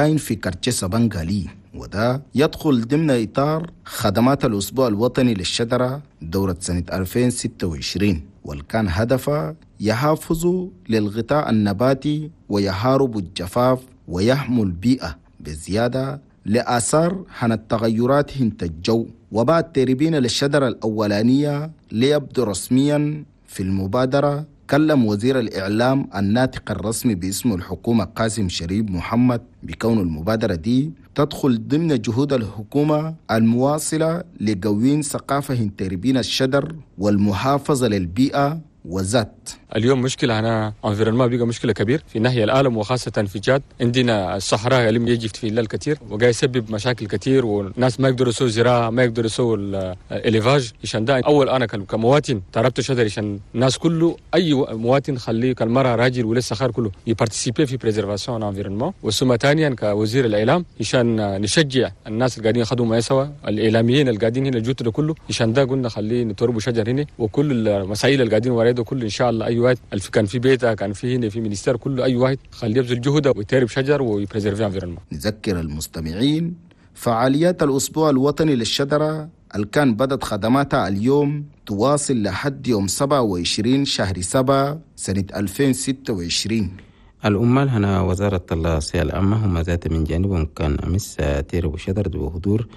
كاين في quartier سبانغالي، وده يدخل ضمن إطار خدمات الأسبوع الوطني للشجرة دورة سنة 2026، والكان هدفها يحافظوا للغطاء النباتي ويحاربوا الجفاف ويحموا البيئة بزيادة لآثار عن التغيرات هنت الجو. وبعد تربين للشجرة الأولانية ليبدو رسميا في المبادرة، كلم وزير الإعلام الناطق الرسمي باسم الحكومة قاسم شريف محمد بكون المبادرة دي تدخل ضمن جهود الحكومة المواصلة لقوين ثقافة تربين الشجر والمحافظة للبيئة وذات. اليوم مشكلة هنا environnement بقى مشكلة كبير في ناحية العالم، وخاصة في تشاد عندنا الصحراء اللي يجي في الليل كثير وجاي يسبب مشاكل كثير، والناس ما يقدروا يسووا زراعة، ما يقدروا يسووا ال élevage. عشان ده اول انا كمواطن تربت شجر عشان الناس كله، اي مواطن خليه كالمرأة راجل ولا صغار كله ي participer في préservation environnement. وثم ثانيا كوزير الاعلام عشان نشجع الناس اللي قاعدين يخدموا ما سوا الاعلاميين اللي قاعدين هنا الجوت ده كله، عشان ده قلنا خليه نتربوا شجر هنا، وكل المسائل اللي قاعدين ورا ده كله ان شاء الله اي واحد كان في بيته كان في هنا في ministère كله اي واحد خليه يبذل جهده ويترب شجر وي préserver environnement. نذكر المستمعين فعاليات الاسبوع الوطني للشجره اللي كان بدت خدماتها اليوم تواصل لحد يوم 27 شهر 7 سنة 2026. العمال هنا وزارة الصحة العامة هم ذات من جانبهم كان أمس تيرب شجر بحضور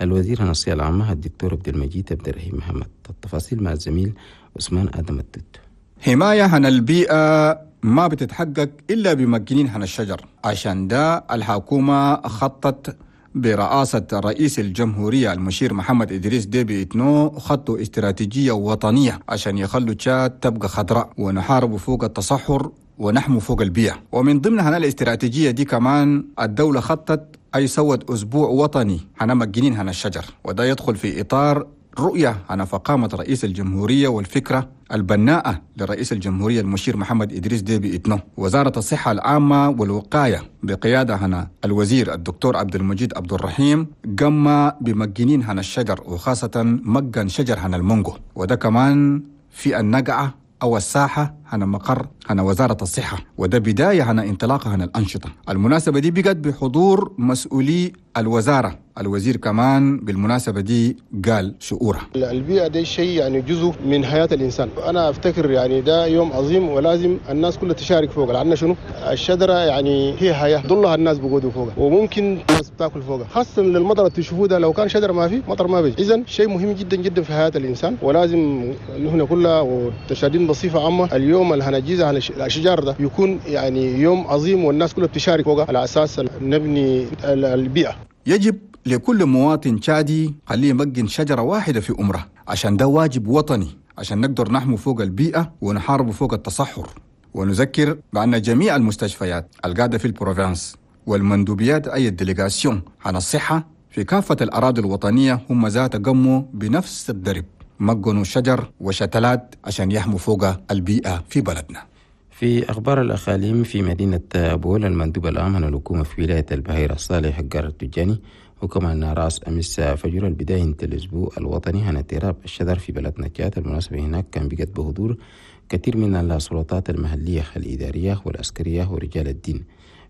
الوزير هنا الصحة العامة الدكتور عبد المجيد عبد الرحيم محمد. التفاصيل مع الزميل عثمان آدم التوت. حماية عن البيئة ما بتتحقق إلا بمجنين عن الشجر، عشان ده الحكومة خطت برئاسة رئيس الجمهورية المشير محمد إدريس ديبي إتنو خطوا استراتيجية وطنية عشان يخلوا تشاد تبقى خضراء ونحاربوا فوق التصحر ونحموا فوق البيئة. ومن ضمن هنا الاستراتيجية دي كمان الدولة خطت أي سوت أسبوع وطني هنا مجنين هنا الشجر، وده يدخل في إطار رؤية عن فقامة رئيس الجمهورية والفكرة البناءة لرئيس الجمهورية المشير محمد إدريس ديبي إتنو. وزارة الصحة العامة والوقاية بقيادة هنا الوزير الدكتور عبد المجيد عبد الرحيم قام بمجنين هنا الشجر، وخاصة مجن شجر هنا المونجو، وده كمان في النقعة أو الساحة هنا مقر هنا وزارة الصحة، وده بداية هنا انطلاقة هنا الأنشطة. المناسبة دي بقت بحضور مسؤولي الوزارة، الوزير كمان بالمناسبة دي قال شعوره. البيئة دي شيء يعني جزء من حياة الإنسان، أنا أفتكر يعني ده يوم عظيم ولازم الناس كلها تشارك فوق، لأن شنو الشجرة يعني هي حياة ضلها الناس بقودوا فوقها وممكن الناس بتاكل فوقها، خاصة للمطر تشوفوه ده لو كان شجرة ما في مطر ما بيجي. إذن شيء مهم جدا جدا في حياة الإنسان، ولازم نحن كلها والتشادين بصفة عامة اليوم اللي هنجيزه على الأشجار ده يكون يعني يوم عظيم والناس كلها بتشارك فوقها على أساس نبني البيئة. يجب لكل مواطن تشادي خليه يمجن شجرة واحدة في عمره، عشان ده واجب وطني، عشان نقدر نحمو فوق البيئة ونحارب فوق التصحر. ونذكر بأن جميع المستشفيات القاعدة في ال province والمندوبيات أي ال délégations عن الصحة في كافة الأراضي الوطنية هم ذات قموا بنفس الدرب، مجنوا شجر وشتلات عشان يحموا فوق البيئة في بلدنا. في أخبار الأقاليم في مدينة بول المندوب العام عن الحكومة في ولاية البحيرة صالح حجار التجاني وكمان رأس أمس فجر البداية الأسبوع الوطني عن اضطراب الشجر في بلدنا تشاد. المناسبة هناك كان بقت بحضور كثير من السلطات المحلية الإدارية والعسكرية ورجال الدين.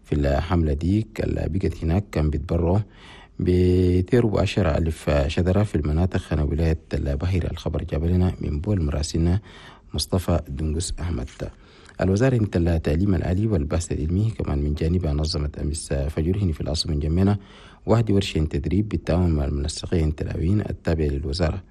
في الحملة دي اللي بقت هناك كان بيتبرعوا بتربو 10,000 شجرة في المناطق عن ولاية البحيرة. الخبر جاب لنا من بول مراسلنا مصطفى دنقس أحمد. الوزارة التعليم العالي والبحث العلمي كمان من جانبها نظمت أمس فجر هنا في العاصمة جمينة واحد ورشة تدريب بالتعاون مع المنسقين التلاوين التابع للوزارة.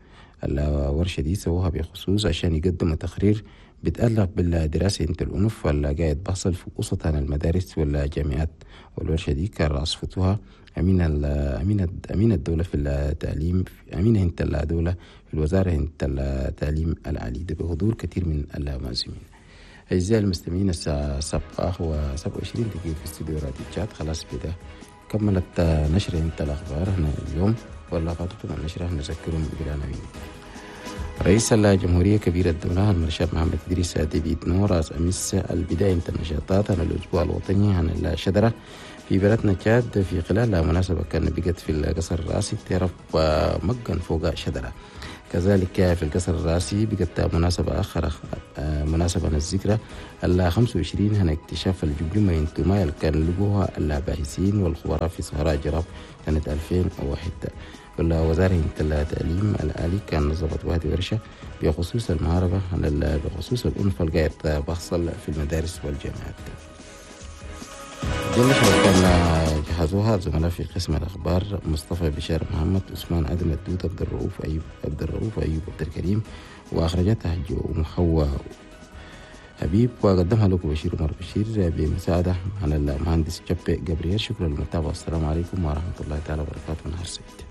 الورشة دي سووها بخصوص عشان يقدموا تقرير بيتعلق بالدراسة انت الأنف ولا قاعد بحصل في وسط عن المدارس والجامعات. والورشة دي كان رأس فتوها أمين الدولة في التعليم، أمين انت الدولة في الوزارة انت التعليم العالي، ده بحضور كثير من المعزومين. أعزائي المستمعين الساعة 7:27 في استوديو راديو تشاد. خلاص بدا كملت نشر انت الأخبار هنا اليوم، ولا فاتتم النشرة نذكرهم بالعناوين. رئيس الجمهورية كبير الدولة المرشد محمد إدريس ديبي إتنو رأس أمس البداية النشاطات عن الأسبوع الوطني عن الشجرة في بلدنا تشاد في خلال مناسبة كان بقت في القصر الرئاسي تعرف مجن فوق شجرة. كذلك في القصر الرئاسي بقت مناسبة أخرى، مناسبة الذكرى ال 25 هنا اكتشاف الجمجمة انتماء اللي كان لقوها الباحثين والخبراء في صحراء جراب سنة 2001. وزارة التعليم العالي كان نظمت واحد ورشة بخصوص المهاربة بخصوص الأنف القاعد بحصل في المدارس والجامعات. دي النشرة كان جهزوها زملاء في قسم الأخبار مصطفى بشار محمد، عثمان آدم الدود، عبد الرؤوف أيوب، عبد الرؤوف أيوب عبد الكريم، وأخرجتها محوى حبيب، وقدمها لكم بشير عمر بشير بمساعدة على المهندس جبي جبريل. شكرا للمتابعة، والسلام عليكم ورحمة الله تعالى وبركاته. نهار سعيد.